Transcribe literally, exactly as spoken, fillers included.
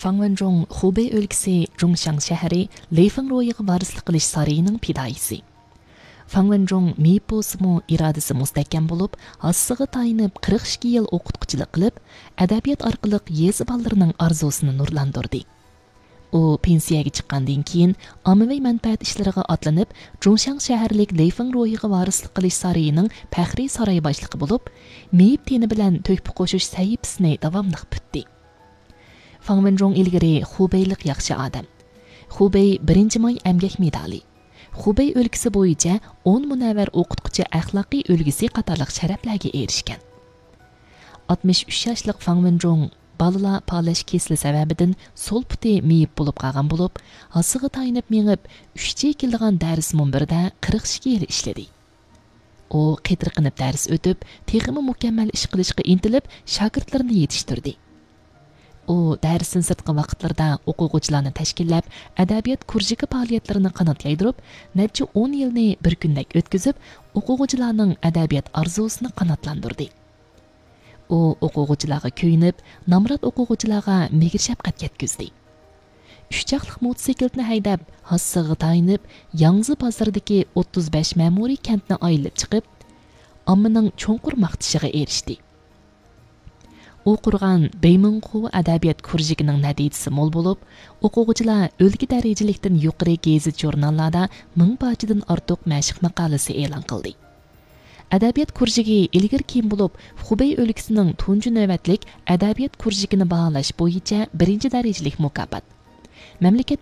فاڭ ۋېنجۇڭ خۇبېي ئۆلكىسى جۇڭشاڭ شەھىرى لېي فېڭ روھىغا ۋارىسلىق قىلىش سارىيىنىڭ پىدائىيسى. فاڭ ۋېنجۇڭ مېيىپ بولسىمۇ، ئىرادىسى مۇستەھكەم بولۇپ، ھاسىسىغا تايىنىپ قىرىق ئىككى يىل ئوقۇتقۇچىلىق قىلىپ، ئەدەبىيات ئارقىلىق يېزا بالىلىرىنىڭ ئارزۇسىنى نۇرلاندۇردى. ئۇ پېنسىيەگە چىققاندىن كېيىن، ئاممىۋى مەنپەئەت ئىشلىرىغا ئاتلىنىپ، جۇڭشاڭ شەھەرلىك لېي فېڭ روھىغا ۋارىسلىق قىلىش سارىيىنىڭ پەخرىي ساراي باشلىقى بولۇپ، مېيىپ تېنى بىلەن تۆھپە قوشۇش سەھىپىسىنى داۋاملىق پۈتتى. فاڭ ۋېنجۇڭ ئىلگىرى خۇبېيلىق ياخشى ئادەم، خۇبېي بىرىنچى ماي ئەمگەك مېدالى، خۇبېي ئۆلكىسى بويىچە ئون مۇنەۋۋەر ئوقۇتقۇچى ئەخلاقىي ئۈلگىسى قاتارلىق شەرەپلەرگە ئېرىشكەن. ئاتمىش ئۈچ ياشلىق فاڭ ۋېنجۇڭ بالىلار پالەچ كېسىلى سەۋەبىدىن سول پۇتى مېيىپ بولۇپ قالغان بولۇپ، ھاسىسىغا تايىنىپ مېڭىپ، ئۈچ جى كېلىدىغان دەرس مۇنبىرىدە قىرىق ئىككى يىل ئىشلىدى. ئۇ قېتىرقىنىپ دەرس ئۆتۈپ، تېخىمۇ مۇكەممەل ئىش قىلىشقا ئىنتىلىپ، شاگىرتلىرىنى يېتىشتۈردى. ئۇ دەرستىن سىرتقى ۋاقىتلىرىدا ئوقۇغۇچىلارنى تەشكىللەپ، ئەدەبىيات كۇرژۇكى پائالىيەتلىرىنى قانات يايدۇرۇپ، نەچچە ئون يىلنى بىر كۈندەك ئۆتكۈزۈپ، ئوقۇغۇچىلارنىڭ ئەدەبىيات ئارزۇسىنى قاناتلاندۇردى. ئۇ ئوقۇغۇچىلارغا كۆيۈنۈپ، نامرات ئوقۇغۇچىلارغا مېھىر-شەپقەت يەتكۈزدى. ئۈچ چاقلىق موتوسىكلىتىنى ھەيدەپ، ھاسىسىغا تايىنىپ، ياڭزى بازىرىدىكى ئوتتۇز بەش مەمۇرىي كەنتنى ئايلىنىپ چىقىپ، ئاممىنىڭ چوڭقۇر ماختىشىغا ئېرىشتى. ئۇ قۇرغان بېيمىڭخۇ ئەدەبىيات كۇرژۇكىنىڭ نەتىجىسى مول بولۇپ، ئوقۇغۇچىلار ئۆلكە دەرىجىلىكتىن يۇقىرى گېزىت-ژۇرناللاردا مىڭ پارچىدىن ئارتۇق مەشىق ماقالىسى ئېلان قىلدى. ئەدەبىيات كۇرژۇكى ئىلگىرى-كېيىن بولۇپ، خۇبېي ئۆلكىسىنىڭ تۇنجى نۆۋەتلىك ئەدەبىيات كۇرژۇكىنى باھالاش بويىچە بىرىنچى دەرىجىلىك مۇكاپات. مەملىكەت